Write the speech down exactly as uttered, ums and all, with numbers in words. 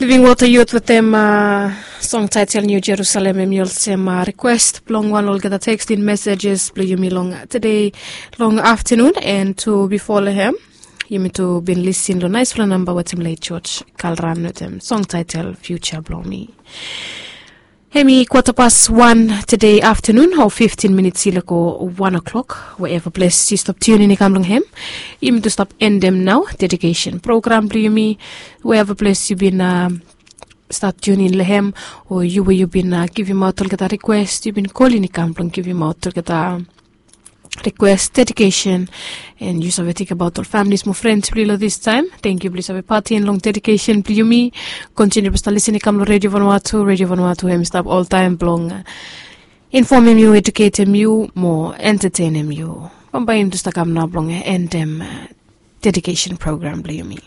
Living Water Youth wetem song taitel New Jerusalem, em i olsem rikwest blong wan olgeta teksting mesejes blong yumi long tede long aftanun. En tu bifo long hem, yumi tu bin lisin long naispela namba wetem leit George Kalran wetem song taitel Future blong mi. Hem i kwata pas wan tede aftanun, o fiftin minits i lego wan o'klok. Wherever ples yu stap tiunin i kam long hem, yumi tu stap endem nau dedikesen program blong yumi. Wherever ples yu bin stap tiunin long hem, o yu we yu bin givimaot olgeta rikwest, yu bin kolin i kam blong givimaot olgeta rikwes, dedikesen, en yu save tingbaot ol familis mo frens blong yu long distaem. Tangkiu blong yu save patin long dedikesen blong yumi. Kontiniu blong stap lisin i kam long Redio Vanuatu. Redio Vanuatu hem i stap oltaem blong infomem yu, eduketem yu mo entatenem yu. Bambae yumi tu stap kam nao blong endem dedikesen program blong yumi.